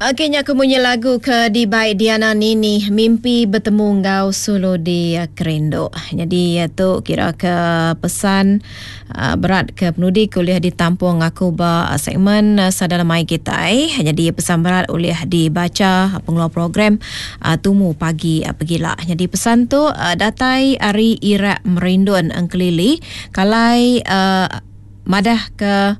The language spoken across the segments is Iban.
Okey nya ke munyi lagu ke dibai Diana Nini mimpi betemu enggau sulu di kerindu. Nyadi tu kira ke pesan berat ke penudi ke ulih ditampung aku ba segmen sada lemai kitai. Nyadi pesan berat ulih dibacha pengeluar program tumu pagi pegila. Nyadi pesan tu datai ari Irak Merindun Engkelili kalai madah ke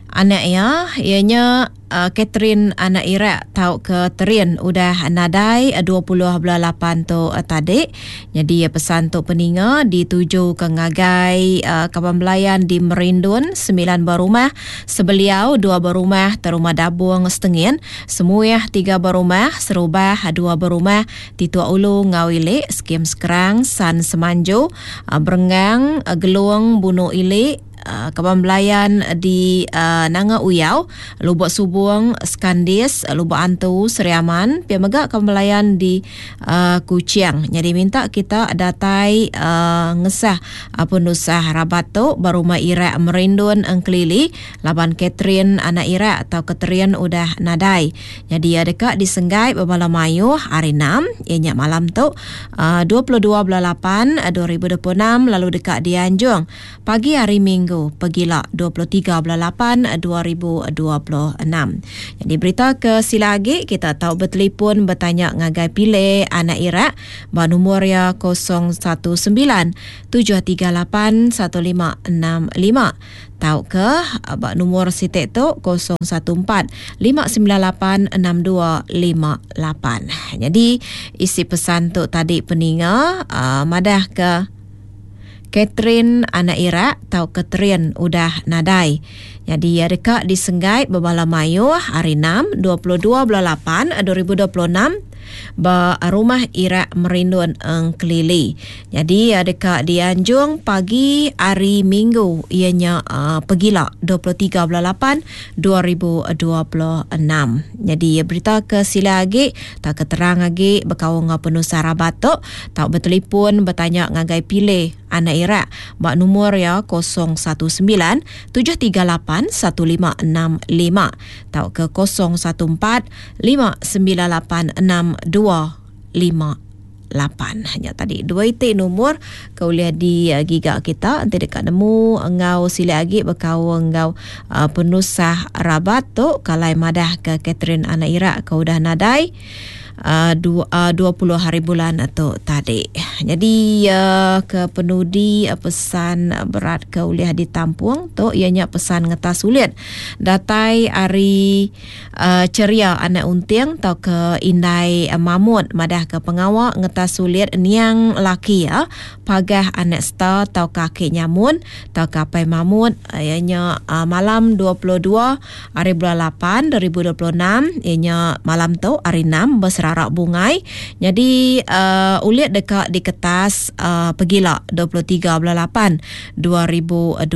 anak iya, iya nya Catherine anak Irak tauka Terin udah nadai 20 bulan lapan tu tadi. Nyadi pesan tu peninga ditujuka ngagai kaban belayan di Merindun semilan buah rumah, Sebeliau dua buah rumah, Terumah Dabung Setengin, Semuih tiga buah rumah, Serubah dua buah rumah, Tituk Ulu enggau Ili, Skim Sekerang, San Semanju, Berenggang, Gelung, Bunu Ili, Kaban belayan di Nanga Uyau, Lubok Subong, Skandis, Lubok Antu, Sri Aman, pia mega kaban belayan di Kuching. Nyadi minta kita datai ngesah penusah rabat tu ba Rumah Irak Merindun Engkelili laban Catherine anak Irak tauka Terin udah nadai. Nyadi iya deka disenggai bebala mayuh hari Enam iya nya malam tu 22 bulan lapan 2026 lalu deka dianjung pagi hari Minggu pegila 23 bulan lapan 2026. Nyadi berita ke sila agi kita tau betelipon betanya ngagai Pile anak Irak ba numur iya 019 738 1565. Tauka ba numur siti tu 014 598 6258. Nyadi isi pesan tu tadi peninga uh, madah ke Catherine anak Irak tauka Terin udah nadai. Nyadi iya deka disenggai bebala mayuh hari 6 22 bulan 8 2026 ba Rumah Irak Merindun Engkelili. Nyadi iya deka dianjung pagi hari Minggu iya nya pegila 23 bulan 8 2026. Nyadi berita ke sila agi tauka terang agi bekaul enggau penusah rabat tu tau betelipon betanya ngagai Pile anak Irak ba numur iya 019 738 1565 tauka 014 5986258. Nya tadi dua iti numur ke ulih digiga kita enti deka nemu enggau silik agi bekaul enggau uh, penusah rabat tu kalai madah ke Catherine anak Irak ke udah nadai uh, 20 uh, hari bulan tu tadi. Jadi uh, ke penudi uh, pesan berat ke ulih ditampung tu iya nya pesan ngetas sulit datai ari Cheria anak Unting tauka indai Mamut madahka pengawa ngetas sulit niang laki iya Pagah anak Star tauka aki Nyamun tauka apai Mamut iya nya malam 22 hari bulan lapan 2026 iya nya malam tu hari enam beserara bungai nyadi ulit deka diketas pegila 23 bulan lapan 2026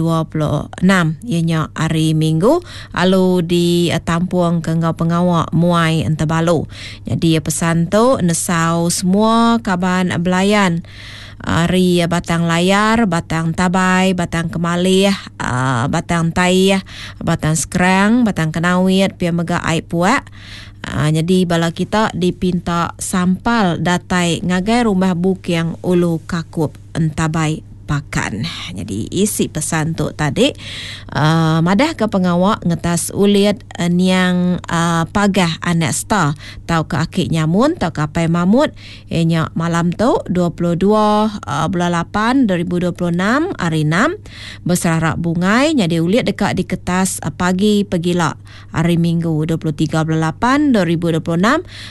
iya nya hari Minggu. Alu ditampung ke enggau pengawa muai entebalu. Nyadi pesan tu nesau semua kaban belayan ari Batang Layar, Batang Tabai, Batang Kemalih, Batang Taih, Batang Skrang, Batang Kenawit pia mega ai Puak. Nyadi bala kita dipinta sampal datai ngagai Rumah Buking Ulu Kakup Entabai Pakan. Nyadi isi pesan tu tadi uh, madah ke pengawa ngetas ulit uh, niang uh, pagah anak star tauka aki nyamun tauka apai mamut iya nya malam tu 22 uh, bulan 8 2026 hari 6 beserara bungai nyadi ulit deka diketas uh, pagi pegila Hari Minggu 23 bulan 8 2026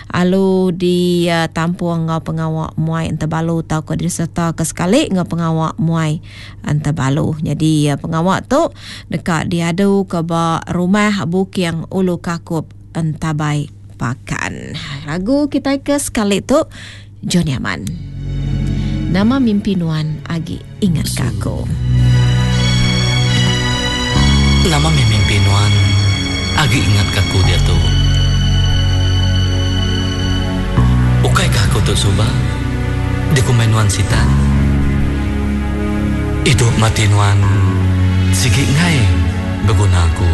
alu ditampung enggau pengawa muai entebalu tauka disereta ke sekali enggau pengawa muai entebalu. Nyadi pengawa tu deka diadu ke ba Rumah Buking Ulu Kakup Entabai Pakan. Lagu kitai ke sekali tu Johnny Aman. Nama mimpi nuan agi ingat ke aku. Nama mih mimpi nuan agi ingat ke aku diatu. Ukai kah aku tu suba dikumbai nuan sitan. Idup mati nuan sigi enggai beguna aku.